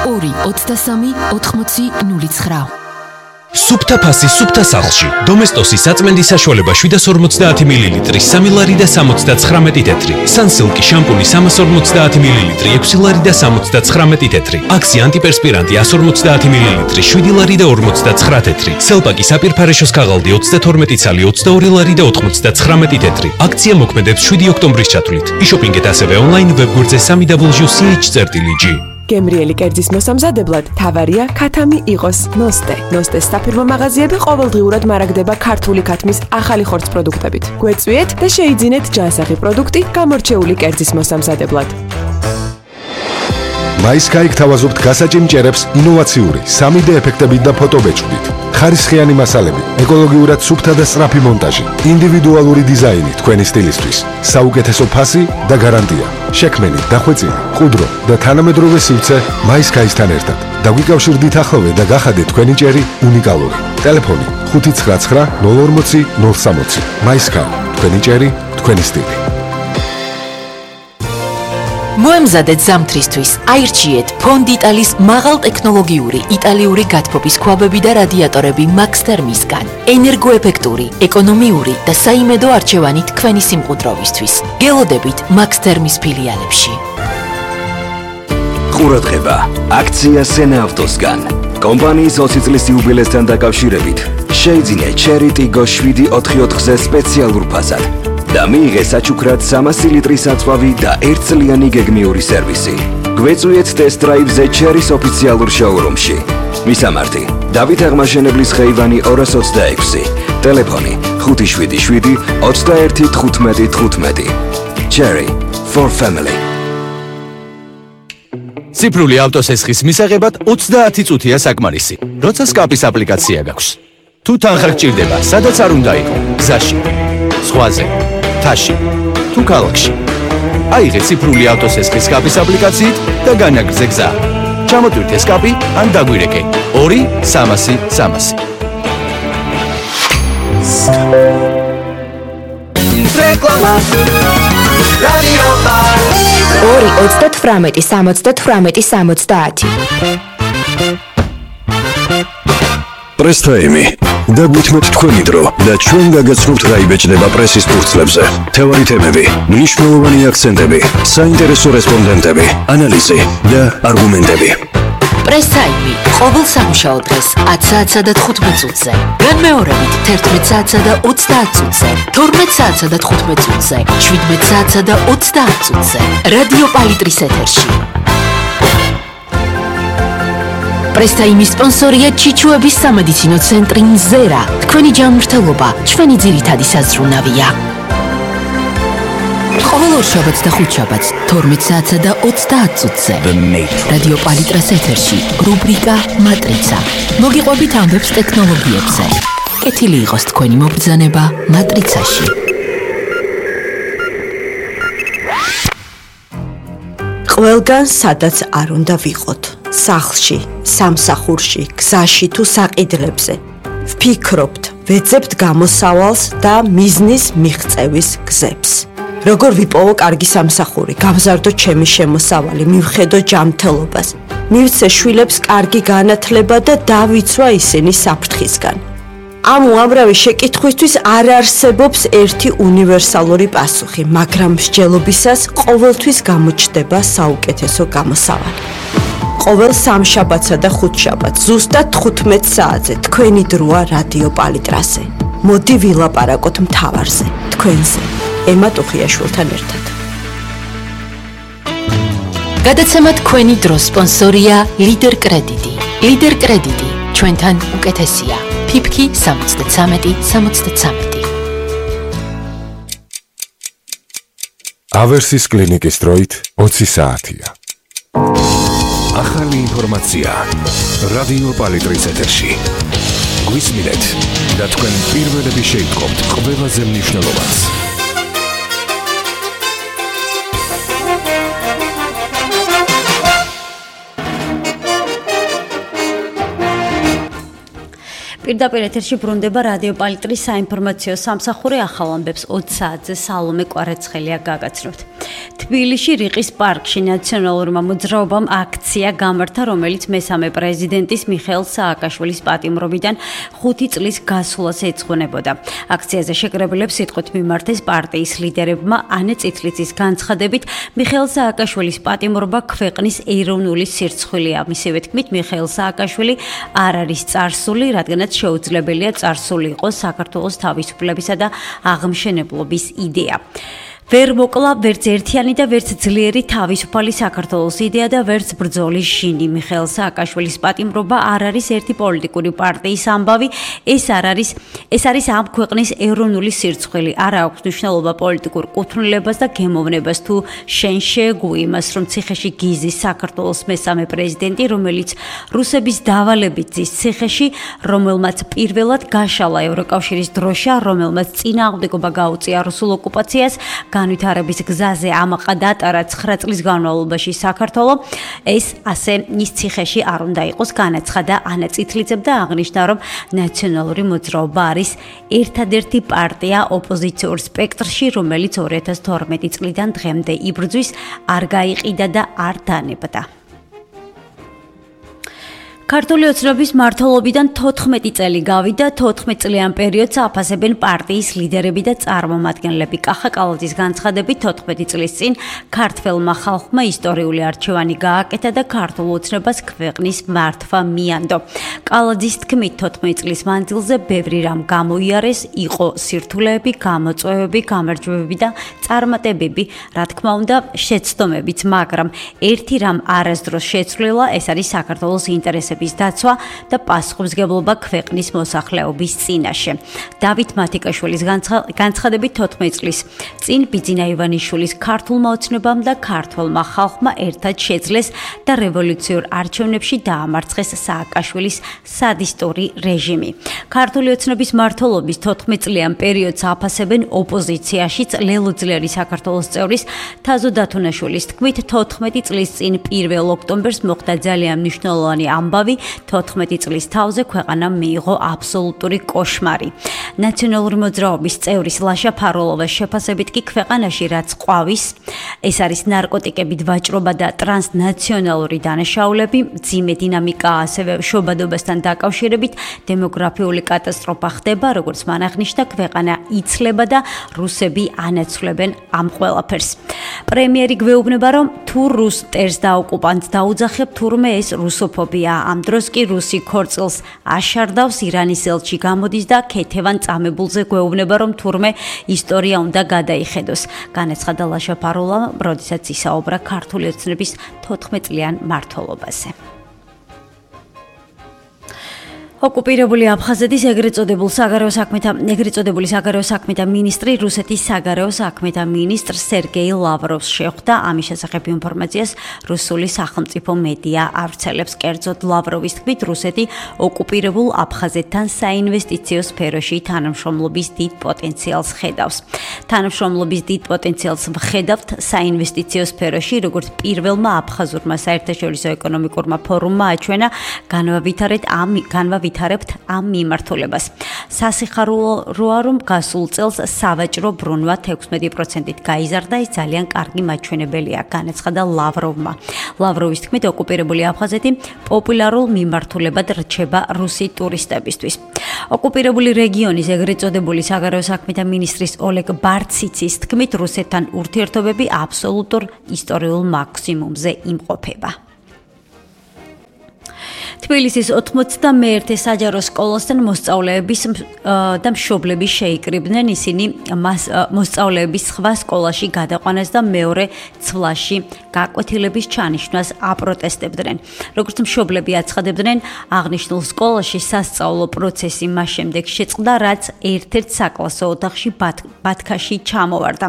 2-23-80-09. სუფთა ფასი სუფთა სახლში. დომესტოსის საწმენდის საშუალება 750 მილილიტრი 3 ლარი და 79 თეთრი. სანსილკი შამპუნი 350 მილილიტრი 6 ლარი და 79 თეთრი. აქსი ანტიპერსპირანტი 150 მილილიტრი 7 ლარი და 59 თეთრი. სელპაკი საპირფარეშოს ქაღალდი 32 ცალი 22 ლარი და 99 თეთრი. აქცია მოქმედებს 7 ოქტომბრის ჩათვლით. იშოპინგეთ ასევე ონლაინ ვებგვერდზე www.ch.ch. გემრიელი კერძის მოსამზადებლად თავარია ქათამი იყოს ნოსტე. ნოსტეს საფირმო მაღაზიები ყოველდღიურად მარაგდება ქართული ქათმის ახალი ხორცს პროდუქტებით. გვეწვიეთ და შეიძინეთ ჯანსაღი პროდუქტი გამორჩეული კერძის მოსამზადებლად. MySky გთავაზობთ გასაჭიმჭერებს ინოვაციური 3D ეფექტებით და ფოტობეჭდით. ხარისხიანი მასალები, ეკოლოგიურად სუფთა და სწრაფი მონტაჟი, ინდივიდუალური დიზაინი თქვენი სტილისთვის, საუკეთესო ფასი და გარანტია. შექმენი, დახვეწილი, ყუდრო და თანამედროვე სივრცე MySky-სთან ერთად. დაგვიკავშირდით ახლოვე და გახადეთ თქვენი ჭერი უნიკალური. ტელეფონი 599 040 060. MySky, თქვენი ჭერი, თქვენი სტილი. მოემზადეთ ზამთრისთვის. აირჩიეთ ფონდიტალის მაღალტექნოლოგიური იტალიური გათბობის ქვაბები და რადიატორები Max Thermis-გან. ენერგოეფექტური, ეკონომიური და საიმედო არჩევანი თქვენი სიმყუდროვისთვის. გელოდებით Max Thermis ფილიალებში. ყურადღება! აქცია Sena Autos-გან. კომპანიის 20 წლის იუბილესთან დაკავშირებით შეიძინე Cherry Tiggo 7/4-ზე სპეციალურ ფასად. და მიიღე საჩუქრად 300 ლიტრის აწვავი და 1 წლიანი გეგმიური სერვისი. გვეწვიეთ test drive-ზე Cherry-ს ოფიციალურ შოურუმში. მისამართი: დავით აღმაშენებლის ხეივანი 226. ტელეფონი 577 21 15 15. Cherry for family. ციფრული ავტოსესხის მისაღებად 30 წუთია საკმარისი. როცა სკაპის აპლიკაცია გაქვს. თუ თანხა გჭირდება, სადაც არ უნდა იყო, გზაში, სხვაზე, თაში, თუ ქალაქში. აიღე ციფრული ავტოსესხის სკაპის აპლიკაციით და განაგრძე გზა. ჩამოტვირთე სკაპი ან დაგვირეკე 2-300-300. რეკლამა რადიო 2-38-70-70. პრესტაიმი დაგვითმოთ თქვენი დრო და ჩვენ გაგაცნობთ რა იბეჭდება პრესის ფურცლებზე. თევარი თემები, მნიშვნელოვანი აქცენტები, საინტერესო რესპონდენტები, ანალიზი და არგუმენტები. პრესაიმი ყოველ სამუშაო დღეს 10 საათსა და 15 წუთზე. განმეორებით 11 საათსა და 30 წუთზე, 12 საათსა და 15 წუთზე, 17 საათსა და 30 წუთზე. რადიო პალიტრის ეთერში. პრესტაიმის სპონსორია ჩიჩუების სამედიცინო ცენტრი მზერა. თქვენი ჯანმრთელობა ჩვენი ძირითადი საზრუნავია. ყოველ ორშაბათს და ხუთშაბათს 12 საათსა და 30 წუთზე. რადიო პალიტრას ეთერში რუბრიკა მატრიცა. მოგიყვებით ამბებს ტექნოლოგიებზე. კეთილი იყოს თქვენი მობრძანება მატრიცაში. ყველგან სადაც არ უნდა ვიყოთ. სახლში, სამსახურში, გზაში თუ საყიდლებზე. ვფიქრობთ, ვეძებთ გამოსავალს და მიზნის მიღწევის გზებს. როგორ ვიპოვო კარგი სამსახური, გავზარდო ჩემი შემოსავალი, მივხედო ჯანმრთელობას, მივცე შვილებს კარგი განათლება და დავიცვა ისინი საფრთხისგან. ამ უამრავი შეკითხვისთვის არ არსებობს ერთი უნივერსალური პასუხი, მაგრამ მსჯელობისას ყოველთვის გამოჩნდება საუკეთესო გამოსავალი. ყოველ სამშაბათსა და ხუთშაბათს ზუსტად 15 საათზე თქვენი დროა რადიო პალიტრაზე. მოდი ვილაპარაკოთ მთავარზე, თქვენზე. ემა ტუხიაშვილთან ერთად. გადაცემა თქვენი დროს სპონსორია ლიდერ კრედიტი. ლიდერ კრედიტი ჩვენთან უკეთესია. ფიფქი 73-73. ავერსის კლინიკის დროით 20 საათია. ახალი ინფორმაცია რადიო პალიტრის ეთერში. გვისმინეთ და თქვენ პირველები შეიტყობთ ყველაზე მნიშვნელოვანს. პირდაპირ ეთერში ბრუნდება რადიო პალიტრის საინფორმაციო სამსახური ახალ ამბებს 20 საათზე სალომე კვარაცხელია გაგაცნობთ. თბილისში რიყის პარკში ნაციონალურმა მოძრაობამ აქცია გამართა, რომელიც მესამე პრეზიდენტის მიხეილ სააკაშვილის პატიმრობიდან 5 წლის გასვლას ეძღვნებოდა. აქციაზე შეკრებილებს სიტყვით მიმართეს პარტიის ლიდერებმა. ანე წითლიცის განცხადებით, მიხეილ სააკაშვილის პატიმრობა ქვეყნის ეროვნული სირცხვილია. მისივე თქმით, მიხეილ სააკაშვილი არ არის წარსული, რადგანაც შეუძლებელია წარსული იყოს საქართველოს თავისუფლებისა და აღმშენებლობის იდეა. ვერ მოკლა ვერც ერთიანი და ვერც ძლიერი თავისუფალი საქართველოს იდეა და ვერც ბრძოლის შინი. მიხეილ სააკაშვილის პატიმრობა არ არის ერთი პოლიტიკური პარტიის ამბავი, ეს არის ამ ქვეყნის ეროვნული სირცხვილი. არ აქვს მნიშვნელობა პოლიტიკურ კუთვნილებას და გემოვნებას თუ შენ შეეგუი იმას, რომ ციხეში გიზის საქართველოს მესამე პრეზიდენტი, რომელიც რუსების დავალებით ზის ციხეში, რომელმაც პირველად გაშალა ევროკავშირის დროშა, რომელმაც წინააღმდეგობა გაუწია რუსულ ოკუპაციას, განვითარების გზაზე ამაყა დატარა 9 წლის განმავლობაში საქართველო, ეს ასე ის ციხეში არ უნდა იყოს, განაცხადა ანა წითლიძემ და აღნიშნა, რომ ნაციონალური მოძრაობა არის ერთადერთი პარტია ოპოზიციურ სპექტრში, რომელიც 2012 წლიდან დღემდე იბრძვის, არ გაიყიდა და არ დანებდა. ქართული ოცნების მმართველობიდან 14 წელი გავიდა, 14 წლიან პერიოდს აფასებენ პარტიის ლიდერები და წარმომადგენლები. კახა კალაძის განცხადებით, 14 წლის წინ ქართველმა ხალხმა ისტორიული არჩევანი გააკეთა და ქართულ ოცნებას ქვეყნის მართვა მიანდო. კალაძის თქმით, 14 წლის მანძილზე ბევრი რამ გამოიარეს, იყო სირთულეები, გამოწვევები, გამარჯვებები და წარმატებები, რა თქმა უნდა, შეცდომებიც, მაგრამ ერთი რამ არასდროს შეცვლილა, ეს არის საქართველოს ინტერესები დაცვა და პასუხისმგებლობა ქვეყნის მოსახლეობის წინაშე. დავით მათიკაშვილის განცხადებით 14 წლის წინ ბიძინა ივანიშვილის ქართულმა ოცნებამ და ქართველმა ხალხმა ერთად შეძლეს და რევოლუციურ არჩევნებში დაამარცხეს სააკაშვილის სადისტური რეჟიმი. ქართული ოცნების მმართველობის 14 წლიან პერიოდს აფასებენ ოპოზიციაშიც ლელო ძლიერი საქართველოს წევრის თაზო დათუნაშვილის თქმით, 14 წლის წინ 1 ოქტომბერს მოხდა ძალიან მნიშვნელოვანი ამბავი. 14 წლის თავზე ქვეყანამ მიიღო აბსოლუტური კოშმარი. ნაციონალური მოძრაობის წევრის ლაშა ფაროლოვას შეფასებით კი ქვეყანაში რაც ყვავის, ეს არის ნარკოტიკებით ვაჭრობა და ტრანსნაციონალური დანაშაულები, მძიმე დინამიკა, ასევე შობადობასთან დაკავშირებით დემოგრაფიული კატასტროფა ხდება, როგორც მან აღნიშნა, ქვეყანა იცლება და რუსები ანაცვლებენ ამ ყველაფერს. პრემიერი გვეუბნება, რომ თუ რუს მტერს და ოკუპანტს დაუძახებ, თურმე ეს რუსოფობია. ამ დროს კი რუსი ქორწილს აშარდავს, ირანის ელჩი გამოდის და ქეთევან წამებულზე გვეუბნება, რომ თურმე ისტორია უნდა გადაიხედოს. განაცხადა ლაშა ფაროლა, როდესაც ისაუბრა ქართული ოცნების 14 წლიან მმართველობაზე. ოკუპირებული აფხაზეთის ეგრეთ წოდებული საგარეო საქმეთა მინისტრი რუსეთის საგარეო საქმეთა მინისტრ სერგეი ლავროვს შეხვდა. ამის შესახებ ინფორმაციას რუსული სახელმწიფო მედია ავრცელებს. კერძოდ ლავროვის თქმით, რუსეთი ოკუპირებულ აფხაზეთთან საინვესტიციო სფეროში თანამშრომლობის დიდ პოტენციალს ხედავს. თანამშრომლობის დიდ პოტენციალს ვხედავთ საინვესტიციო სფეროში, როგორც პირველმა აფხაზურმა საერთაშორისო ეკონომიკურმა ფორუმმა აჩვენა, განვავითარებთ ამ მიმართულებას. სასიხარულოა, რომ გასულ წელს სავაჭრო ბრუნვა 16%-ით გაიზარდა, ეს ძალიან კარგი მაჩვენებელია, განაცხადა ლავროვმა. ლავროვის თქმით, ოკუპირებული აფხაზეთი პოპულარულ მიმართულებად რჩება რუსი ტურისტებისთვის. ოკუპირებული რეგიონის ეგრეთ წოდებული საგარეო საქმეთა მინისტრის ოლეგ ბარციცის თქმით, რუსეთთან ურთიერთობები აბსოლუტურ ისტორიულ მაქსიმუმზე იმყოფება. თბილისის 91 საჯარო სკოლასთან მოსწავლეების და მშობლები შეიკრიბნენ, ისინი მოსწავლეების სხვა სკოლაში გადაყვანას და მეორე ცვლაში გაკვეთილების ჩანიშვნას აპროტესტებდნენ. როგორც მშობლები აცხადებდნენ, აღნიშნულ სკოლაში სასწავლო პროცესი მას შემდეგ შეწყდა, რაც ერთ-ერთ საკლასო ოთახში ბათქაში ჩამოვარდა.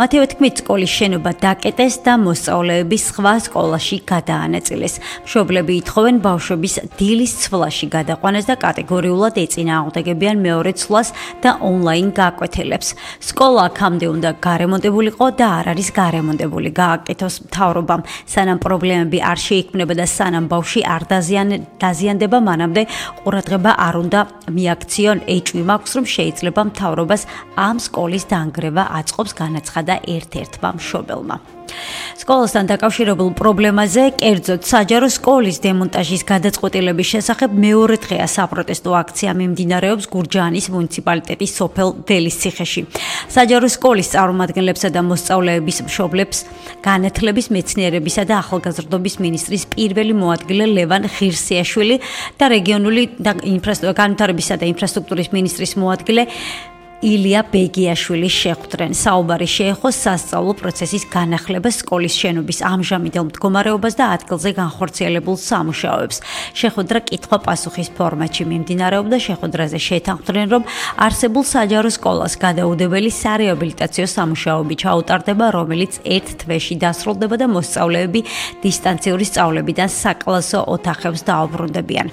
მათივე თქმით, სკოლის შენობა დაკეტეს და მოსწავლეები სხვა სკოლაში გადაანაწილეს. მშობლები ითხოვენ ბავშვების მასწავლებლების დილის ცვლაში გადაყვანას და კატეგორიულად ეწინააღმდეგებიან მეორე ცვლას და ონლაინ გაკვეთილებს. სკოლა აქამდე უნდა გარემონტებულიყო და არ არის გარემონტებული, გააკეთოს მთავრობამ. სანამ პრობლემები არ შეიქმნება და სანამ ბავშვი არ დაზიანდება, მანამდე ყურადღება არ უნდა მიაქციონ. ეჭვი მაქვს, რომ შეიძლება მთავრობას ამ სკოლის დანგრევა აწყობს, განაცხადა ერთ-ერთმა მშობელმა. სკოლასთან დაკავშირებულ პრობლემაზე, კერძოდ საჯარო სკოლის დემონტაჟის გადაწყვეტილების შესახებ მეორე დღეა საპროტესტო აქცია მიმდინარეობს გურჯაანის მუნიციპალიტეტის სოფელ ველისციხეში. საჯარო სკოლის წარმომადგენლებსა და მოსწავლეების მშობლებს განათლების, მეცნიერებისა და ახალგაზრდობის მინისტრის პირველი მოადგილე ლევან ღირსიაშვილი და რეგიონული განვითარებისა და ინფრასტრუქტურის მინისტრის მოადგილე ილია ბეგიაშვილი შეხვდნენ. საუბარი შეეხო სასწავლო პროცესის განახლებას, სკოლის შენობის ამჟამინდელ მდგომარეობას და ადგილზე განხორციელებულ სამუშაოებს. შეხვედრა კითხვა-პასუხის ფორმატში მიმდინარეობდა. შეხვედრაზე შეთანხმდნენ, რომ არსებულ საჯარო სკოლას გადაუდებელი სარეაბილიტაციო სამუშაოები ჩაუტარდება, რომელიც ერთ თვეში დასრულდება და მოსწავლეები დისტანციური სწავლებიდან საკლასო ოთახებს დაუბრუნდებიან.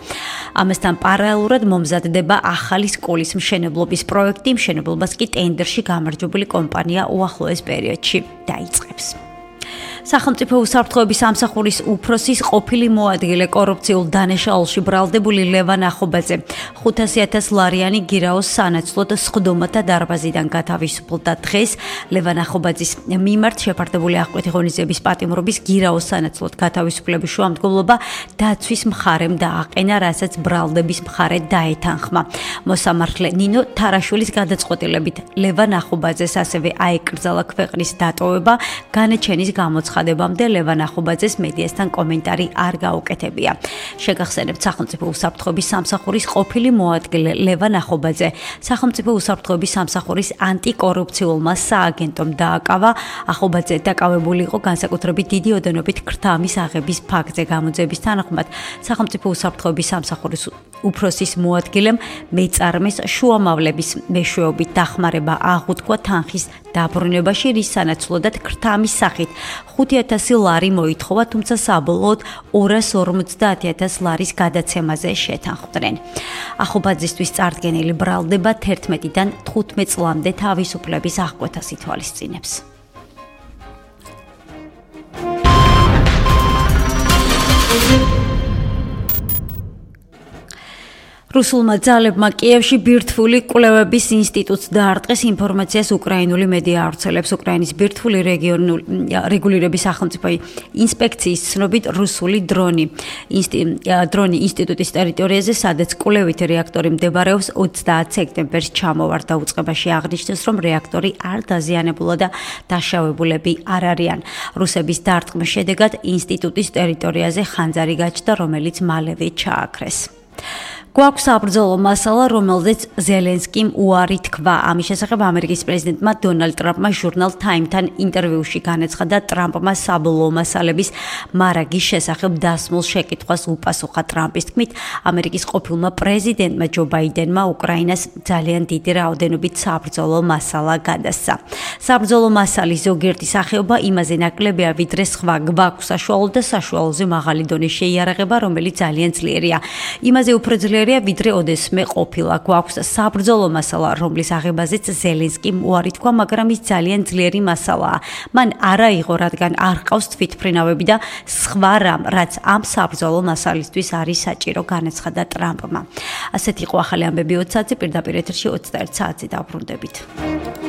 ამასთან პარალელურად მომზადდება ახალი სკოლის მშენებლობის პროექტი, მშენებლობას კი ტენდერში გამარჯვებული კომპანია უახლოეს პერიოდში დაიწყებს. სახელმწიფო უსაფრთხოების სამსახურის უფროსის ყოფილი მოადგილე კორუფციულ დანაშაულში ბრალდებული ლევან ახობაძე 500,000 ლარიანი გირაოს სანაცვლოდ სხდომათა დარბაზიდან გათავისუფლდა. დღეს ლევან ახობაძის მიმართ შეფარდებული აღკვეთი ღონისძიების პატიმრობის გირაოს სანაცვლოდ გათავისუფლების შუამდგომლობა დაცვის მხარემ დააყენა, რასაც ბრალდების მხარე დაეთანხმა. მოსამართლე ნინო თარაშვილის გადაწყვეტილებით ლევან ახობაძეს ასევე აეკრძალა ქვეყნის დატოვება. განაჩენის გამოცხადებამდე ლევან ახობაძეს მედიასთან კომენტარი არ გაუკეთებია. შეგახსენებთ, სახელმწიფო უსაფრთხოების სამსახურის ყოფილი მოადგილე ლევან ახობაძე სახელმწიფო უსაფრთხოების სამსახურის ანტიკორუფციულმა სააგენტომ დააკავა. ახობაძე დაკავებული იყო განსაკუთრებით დიდი ოდენობით ქრთამის აღების ფაქტზე. გამოძიების თანახმად სახელმწიფო უსაფრთხოების სამსახურის უფროსის მოადგილემ მეწარმეს შუამავლების მეშვეობით დახმარება აღუთქვა თანხის დაბრუნებაში, რის სანაცვლოდაც ქრთამის სახით 5,000 ლარი მოითხოვა, თუმცა საბოლოოდ 250,000 ლარის გადაცემაზე შეთანხმდნენ. ახობაძისთვის წარდგენილი ბრალდება 11-დან 15 წლამდე თავისუფლების აღკვეთას ითვალისწინებს. რუსულმა ძალებმა კიევში ბირთვული კვლევების ინსტიტუტს დაარტყეს. ინფორმაციას უკრაინული მედია ავრცელებს. უკრაინის ბირთვული რეგულირების სახელმწიფო ინსპექციის ცნობით რუსული დრონი ინსტიტუტის ტერიტორიაზე, სადაც კვლევითი რეაქტორი მდებარეობს, 30 სექტემბერს ჩამოვარდა. უწყებაში აღნიშნეს, რომ რეაქტორი არ დაზიანებულა და დაშავებულები არ არიან. რუსების დარტყმის შედეგად ინსტიტუტის ტერიტორიაზე ხანძარი გაჩნდა, რომელიც მალევე ჩააქრეს. გვაქვს საბრძოლო მასალა, რომელზეც ზელენსკიმ უარი თქვა. ამის შესახებ ამერიკის პრეზიდენტმა დონალდ ტრამპმა ჟურნალ Time-თან ინტერვიუში განაცხადა, ტრამპმა საბოლოო მასალების მარაგის შესახებ დასმულ შეკითხვას უპასუხა. ტრამპის თქმით, ამერიკის ყოფილმა პრეზიდენტმა ჯო ბაიდენმა უკრაინას ძალიან დიდი რაოდენობით საბრძოლო მასალა გადასცა. საბრძოლო მასალის ზოგიერთი სახეობა იმაზე ნაკლებია, ვიდრე სხვა გვაქვს საშუალო და საშუალოზე მაღალი დონის შეიარაღება, რომელიც ძალიან ძლიერია. იმაზე უფრო ძლიერია, ვიდრე ოდესმე ყოფილა. გვაქვს საბრძოლო მასალა, რომლის აღებაზეც ზელენსკიმ უარი თქვა, მაგრამ ის ძალიან ძლიერი მასალაა. მან არ აიღო, რადგან არ ყავს თვითმფრინავები და სხვა რამ, რაც ამ საბრძოლო მასალისთვის არის საჭირო, განაცხადა ტრამპმა. ასეთი იყო ახალი ამბები 20 საათზე, პირდაპირ ეთერში 21 საათზე დავბრუნდებით.